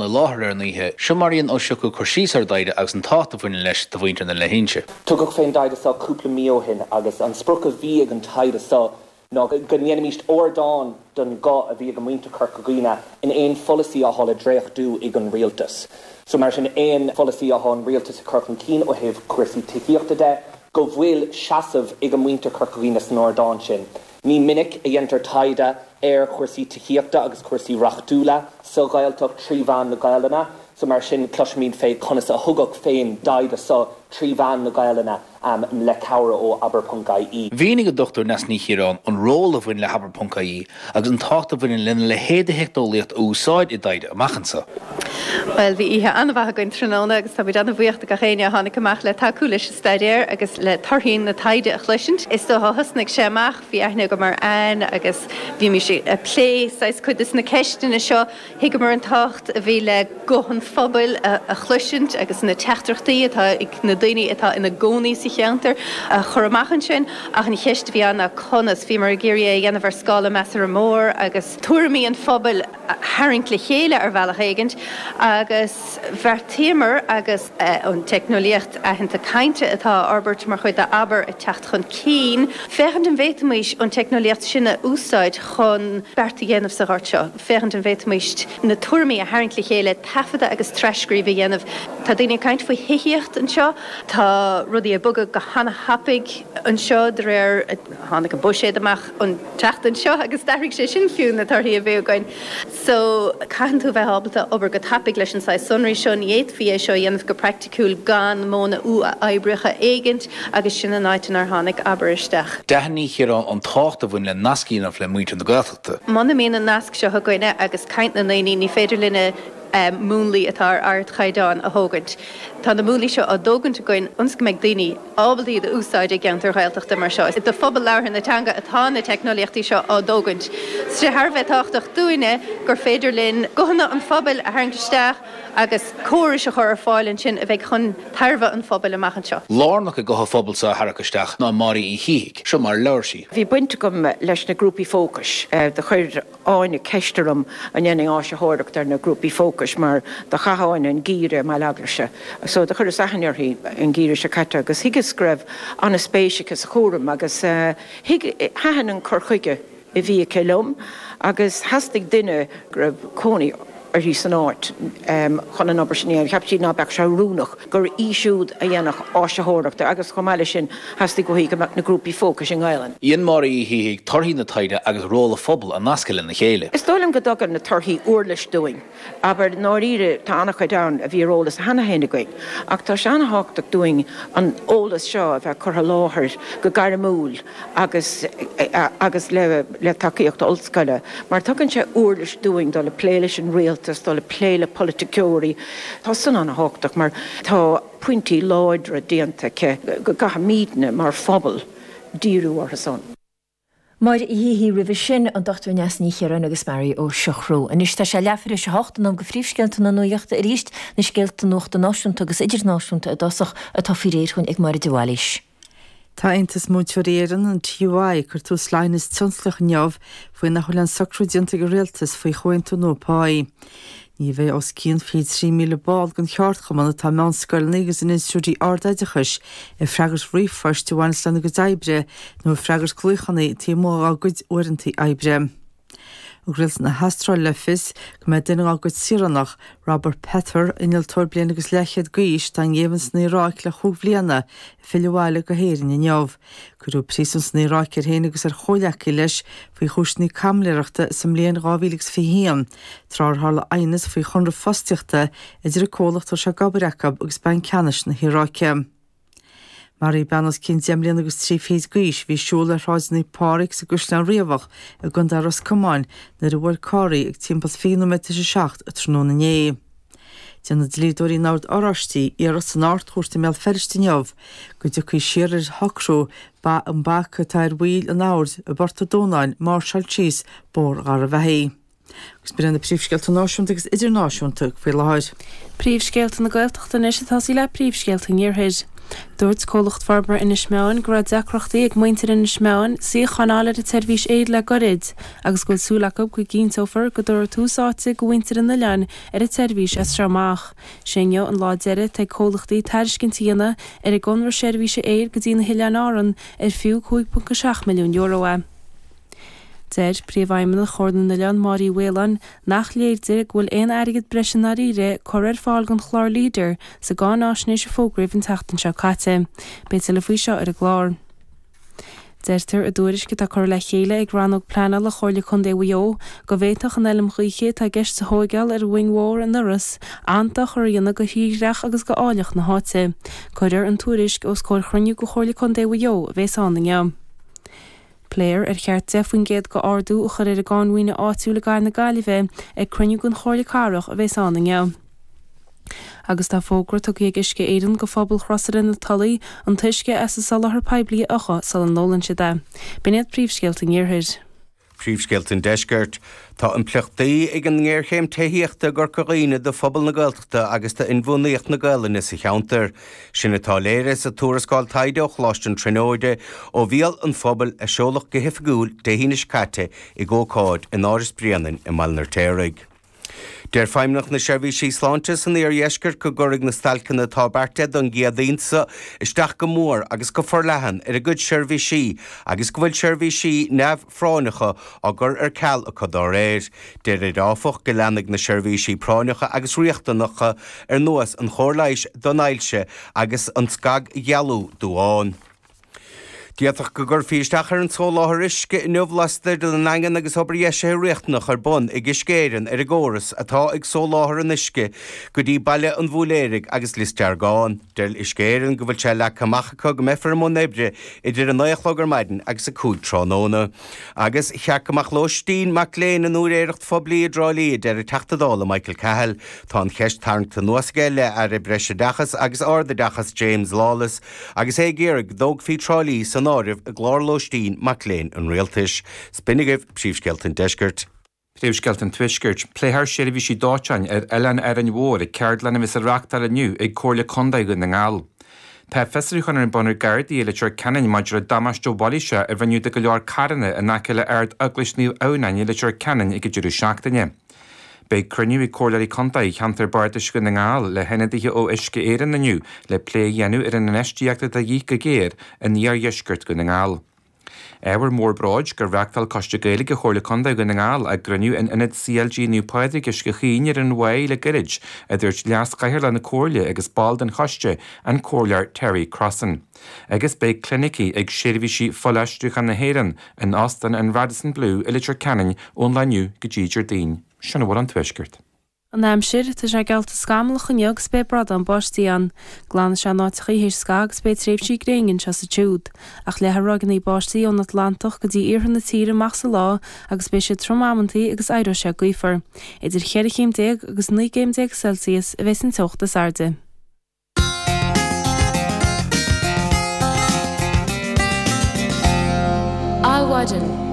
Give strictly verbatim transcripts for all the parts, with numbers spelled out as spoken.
I láthair ar an oíche, seo mar a dhein Ó Siochrú cur síos ar an dtaighde agus an tábhacht a bhaineann leis do mhuintir na leithinse. Tugadh fén dtaighde seo cúpla mí ó shin agus an sprioc a bhí ag an taighde seo ná go ndéanfaimis ardán don ghuth a bhí ag muintir Chorca Dhuibhne in aon pholasaí atá le dréachtú ag an rialtas. So mar sin aon pholasaí atá an rialtas ag cur chun cinn ó thaobh cúrsaí tithíochta de, go bhfuil seasamh ag muintir Chorca Dhuibhne san ardán sin. Ní minic a dhéantar taighde ar chúrsaí tithíochta agus cúrsaí reachtúla sa Ghaeltacht trí mheán na Gaelainne, so mar sin cloisfimid fé conas a thugadh fén dtaighde seo trí mheán na Gaelainne um, le cabhair ó abair.ie. Mhínigh an Dr Neasa Ní Chiaráin an ról a bhain le habair.ie agus an tábhacht a bhaineann lena leithéid de theicneolaíocht a úsáid i dtaighde amach anseo. Well bhí oíche an-mhaith againn tráthnóna agus táimid an-bhuíoch de gach éinne a tháinig amach le tacú leis an staidéar agus le torthaí na taighde a chloisint. Is dócha thosnaigh sé amach bhí aithne agam ar Anne agus bhí mé ag plé saghas cuid de na ceisteanna seo thuigeamar an tábhacht a bhí le guth an phobail a, a chloisint agus na teachtaireachtaí atá ag na daoine atá ina gcónaí sa cheantar a chur amach ansin ach an cheist a bhí ann ná conas bhíomar ag iarraidh é a dhéanamh ar scála measartha mór agus tuairimí an phobail a tharraingt le chéile ar bhealach éigin agus bheartaíomar agus an teicneolaíocht aitheanta cainte atá á fhorbairt mar chuid d'Abair ag teacht chun cinn. Féachaint an bhféadfaimis an teicneolaíocht sin a úsáid chun beart a dhéanamh sa ghort seo. Féachaint an bhféadfaimis na tuairimí a tharraingt le chéile taifeadadh agus tras-scríobh a dhéanamh. Tá daoine ag caint faoi thithíocht anseo, tá rudaí ag bogadh go han-tapaidh anseo de réir tháinig an buiséad amach an tseachtain seo agus d'athraigh sé sin fiú na torthaí a bhí againn. So caithfidh tú bheith ábalta obair go tapaidh leis an saghas sonraí seo ní fhéadfaí é seo a dhéanamh go praiticiúil gan modhanna uathoibríocha éigint agus sin an áit inar tháinig Abair isteach. D'aithin Ní Chiaráin an tábhacht a bhain le nasc a dhéanamh le muintir na Gaeltachta. Muna mbíonn an nasc seo againne agus caint na ndaoine ní féidir linne um, múnlaí atá ar ardchaighdeán a thógaint. Tá na múnlaí seo á dtógaint againn ionas go mbeidh daoine ábalta iad a úsáid i gceantar Ghaeltachta mar seo. Do phobal labhartha na teanga atá na teicneolaíochtaí seo á dtógaint. Sé thar bheith tábhachtach dúinne gur féidir linn guthanna an phobail a tharraingt isteach agus córais a chur ar fáil ansin a bheidh chun tairbhe an phobail amach anseo. Lárnach i gutha an phobail seo a tharrac isteach ná Máire Uí Shíthigh, seo mar a labhair sí. Bhí baint agam leis na grúpaí fócais do chuir Áine ceist orm an ndéanfainn áisitheoireacht ar na grúpaí fócais mar do chaith Áine an geimhreadh i mBaile Eaglais. So do chuireas aithne uirthi an geimhreadh seo caite agus thuigeas go raibh an-spéis aici sa chúram agus uh, thaitin an cur chuige a bhí aici liom agus theastaigh duine go raibh cónaí uirthi san áit um, chun an obair sin cheap sí ná beadh sé oiriúnach gur í siúd a dhéanfadh áisitheoireacht agus chomh maith leis sin theastaigh uaithi go mbeadh na grúpaí fócais i nGaelainn. Dhein Máire Uí Shíthigh torthaí na taighde agus ról an phobail a nascadh lena chéile. Is dóigh liom go dtugann na torthaí uirlis dúinn, aber dáiríre tá an-chuid ann a bhí ar eolas cheana féin againn, ach tá sé an-tábhachtach dúinn an eolas seo a bheith curtha i láthair go gairmiúil agus agus le, le tacaíocht ollscoile, mar tugann sé uirlis dúinn dul a plé leis an rialtas, dul a plé le polaiticeoirí. Tá san an-tábhachtach mar tá pointí láidre déanta go gcaithfimidne mar phobal díriú orthu san. Máire Uí Shíthigh roimhe sin an Dr Neasa Ní Chiaráin agus Mary Ó Siochrú. Anois tá sé leathuair tar éis a hocht an am go phríomhscéalta na nuachta arís na scéalta nuachta náisiúnta agus idirnáisiúnta i dtosach atá faoi réir ag Máire de Bhailís. Tá Aontas Múinteoirí Éireann an TUI ag cur tús le haighneas tionsclaíoch inniu faoi nach bhfuil aon socrú déanta ag an rialtas faoi chomhaontú nua páí. Ní bheidh os cionn fiche trí míle ball den cheardchumann atá i meánscoileanna agus in institiúidí ardoideachais ag freagairt ríomhphoist a bhaineas lena gcuid oibre nó ag freagairt glaochanna taobh amuigh dá gcuid uaireanta oibre. Thug rialtas na hAstráile le fios go mbeidh duine dá gcuid saoránach, Robert Pether, innealtóir bliain agus leathchéad d'aois, atá i ngéibheann san Iaráic le chúig bhliana, ag filleadh abhaile go hÉirinn inniu. Cuireadh príosún san Iaráic air féin agus ar chomhghleacaí leis faoi chúiseanna caimiléireachta sa mbliain dhá mhíle agus fiche haon, tráth ar tharla aighneas faoi chonradh fostaíochta idir an comhlacht a raibh sé ag obair acu agus Banc Ceannais na hIaráice. Maraíodh bean os cionn deich mbliana agus trí fichid d'aois a bhí ag siúl ar Shráid Naomh Pádraig sa gCaisleán Riabhach i gContae Ros Comáin nuair a bhuail carr í ag timpeall fiche nóiméad tar éis a seacht tráthnóna inné. Déanfaidh dlíodóirí an Oird Oráistigh iarracht san Ard-Chúirt i mBéal Feirste inniu go dtiocfaí siar ar shocrú an bac atá ar bhaill an Oird i bPort an Dúnáin máirseáil síos Bóthar Gharbhachaidh. Agus b'in iad na príomhscéalta náisiúnta agus idirnáisiúnta faoi láthair. Príomhscéalta na Gaeltachta anois ag tosaí le príomhscéalta an Iarthair. Dúirt Comhlacht Forbartha Inis Meáin go raibh deacrachtaí ag muintir Inis Meáin suíochán a fháil ar an tseirbhís aeir le gairid agus go bhfuil súil acu go gcinnteofar go dtabharfar tús áite do mhuintir an oileáin ar an tseirbhís as seo amach. Sé inniu an lá deiridh atá ag comhlachtaí tairiscint a dhéanamh ar an gconradh seirbhíse aeir go dtí na hOileáin Árann ar fiú cúig ponc a seacht milliún euro é. Deir Príomhfheidhmeannach Chomhairle na nOileán, Máire Uí Mhaoláin, nach léir di go bhfuil aon airgead breise i ndáiríre curtha ar fáil don chlár Leader sa gcáináisnéis a fógraíodh an tseachtain seo caite. Beidh tuilleadh faoi seo ar an gclár. Deirtear i dtuairisc atá curtha le chéile ag Rannóg Pleanála Chomhairle Contae Mhaigh Eo go bhféadfadh an fheilm ghaoithe atá i gceist a thóigeáil ar an Mhoing Mhór in Iorras an-dochar a dhéanamh do thírdhreach agus do áilleacht na háite. Cuirfear an tuairisc os comhair chruinniú de Chomhairle Contae Mhaigh Eo a bheas ann inniu. Pléifear ar cheart deich faoin gcéad d'ardú a chur ar an gcáin mhaoine áitiúil i gcathair na Gaillimhe ag cruinniú den Chomhairle Cathrach a bheas ann inniu. Agus tá fógra tugtha ag Uisce Éireann do phobal Chrosaire na Tulaí an t-uisce as an soláthar poiblí a fhiuchadh sula n-ólann siad é. B'in iad príomhscéalta an Iarthair. Príomhscéalta an Deiscirt. Tá impleachtaí ag an ngéarchéim tithíochta i gCorca Dhuibhne do phobal na Gaeltachta agus d'inbhuanaitheacht na Gaelainne sa cheantar. Sin atá léirithe sa tuarascáil taighde ó Choláiste na Tríonóide ó bhéal an phobail a seoladh go hoifigiúil Dé hAoine seo caite ag ócáid in Áras Bhréanainn i mBaile an Fheirtéaraigh. Deir Feidhmeannacht na Seirbhísí Sláinte san Iardheisceart go gcuirfidh na stailceanna atá beartaithe don gCéadaoin seo isteach go mór agus go forleathan ar a gcuid seirbhísí agus go bhfuil seirbhísí neamhphráinneacha á gcur ar ceal acu dá réir. Deir áfach go leanfaidh na seirbhísí práinneacha agus riachtanacha ar nós an chóir leighis don ailse agus an scagdhealú duán. D'fhéadfadh go gcuirfí isteach ar an soláthar uisce inniu laistigh den nDaingean agus obair dheisithe riachtanach ar bun ag Uisce Éireann ar an gcóras atá ag soláthar an uisce go dtí Baile an Bhúiléaraigh agus Lios Deargáin. Deir Uisce Éireann go bhfuil sé leagtha amach acu go mbeifear i mbun oibre idir a naoi a chlog ar maidin agus a cúig tráthnóna. Agus cheart go mbeadh lóistín mac léinn in úinéireacht phoiblí i dTrá Lí, a deir an Teachta Dála Michael Cahill. Tá an cheist tarraingthe anuas aige le Aire Breisoideachais agus Ardoideachais James Lawless agus é ag iarraidh go dtógfaí Trá Lí san áireamh i gclár lóistín mac léinn an Rialtais. 'S b'in agaibh príomhscéalta an Deiscirt. Príomhscéalta an Tuaiscirt. Pléifear seirbhísí dóiteáin ar Oileán Árainn Mhór ag ceardlann a bheas á reáchtáil inniu ag Comhairle Contae Dhún na nGall. Tá fiosrúchán ar bun ag Gardaí i Leitir Ceanainn maidir le damáiste mhailíseach a rinneadh do go leor carranna in aice le Ard-Eaglais Naomh Adhamhnáin i Leitir Ceanainn ag an deireadh seachtaine. Beidh cruinniú ag Comhairleoirí Contae Cheantar Bardais Dhún na nGall le hionadaithe ó Uisce Éireann inniu le plé a dhéanamh ar an infheistíocht atá de dhíth go géar in iardheisceart Dhún na nGall. Ábhar mór bróid gur reáchtáil Coiste Gaeilge Chomhairle Contae Dhún na nGall a gcruinniú in Ionad CLG Naomh Pádraig, Uisce Chaoin ar an Mhaigh le gairid, a dúirt Leas-Chathaoirleach na Comhairle agus ball den choiste, an Comhairleoir Terry Crossan. Agus beidh clinicí ag Seirbhísí Fuilaistriúcháin na hÉireann in Óstán an Radisson Blu i Leitir Ceanainn ón lá inniu go dtí Déardaoin. Sin a bhfuil ón Tuaisceart. An aimsir, Tá sé geallta scamallach inniu agus beidh bradán báistí ann. Glanfaidh sé in áiteachaí théis scaitheamh agus beidh tréimhsí gréine anseo is ansiúd. Ach leathfaidh ráigeanna báistí ón Atlantach go dtí iarthar na tíre amach sa lá agus beidh siad trom amantaí agus éireoidh sé gaofar. Idir cheithre chéim déag agus naoi gcéim déag Celsius a bheas an teocht is airde. Adhmhaidin.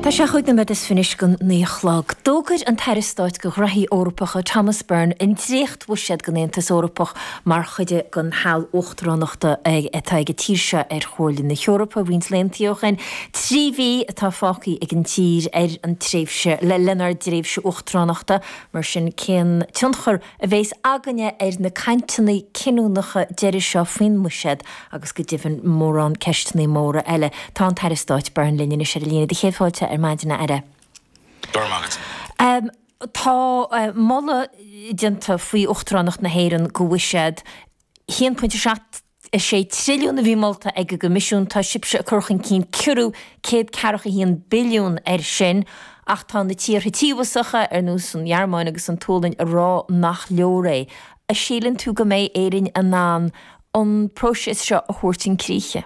Tá sé chúig nóiméad is fiche anois don naoi a chlog. D'fhógair an tAire Stáit do Ghnoithí Eorpacha Thomas Byrne an dréachtbhuiséad don Aontas Eorpach mar chuid den sheal uachtaránachta atá ag an tír seo ar Chomhairle na hEorpa roinnt laethanta ó shin. Trí mhí atá fágtha ag an tír ar an tréimhse le lenár dtréimhse uachtaránachta, mar sin cén tionchar a bheas againne ar na cainteanna cinniúnacha deiridh seo faoin mbuiséad agus go deimhin mórán ceisteanna móra eile. Tá an tAire Stáit Byrne linn anois ar an líne. Do chéad fáilte ar maidin, a Aire. Go raibh maith agat. Tá moladh déanta faoi Uachtaránacht na hÉireann do bhuiséad a haon pointe seacht a sé trilliún a bhí molta ag an gCoimisiún. Tá sibhse ag cur chun cinn ciorrú céad ceathracha a haon billiún air sin ach tá na tíortha tíobhasacha, ar nós an Ghearmáin agus an tSualainn, ag rá nach leor é. A síleann tú go mbeidh Éirinn in ann an próiseas seo a thabhairt chun críche?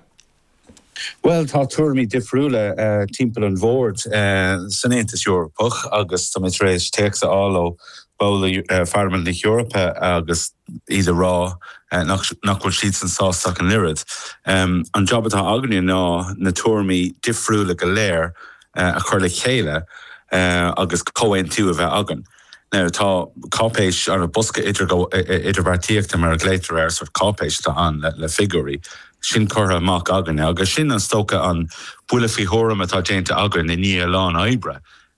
Bhuel, tá tuairimí difriúla timpeall an bhoird san Aontas Eorpach agus tá mé tar éis téacs a fháil ó bhaill Pharlaimint na hEorpa agus iad ag rá nach bhfuil siadsan sásta ach an oiread. An jab atá againne ná na tuairimí difriúla go léir a chur le chéile agus comhaontú a bheith againn. Now tá cáipéis ar a bosca idirbheartaíochta mar a ghlaotar air sort cáipéis atá ann le, le figiúirí. Sin curtha amach againne agus sin is dócha an buille faoi thuairim atá déanta againn i ndiaidh a lán oibre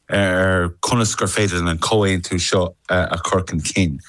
ar conas gur féidir an comhaontú seo a chur chun cinn.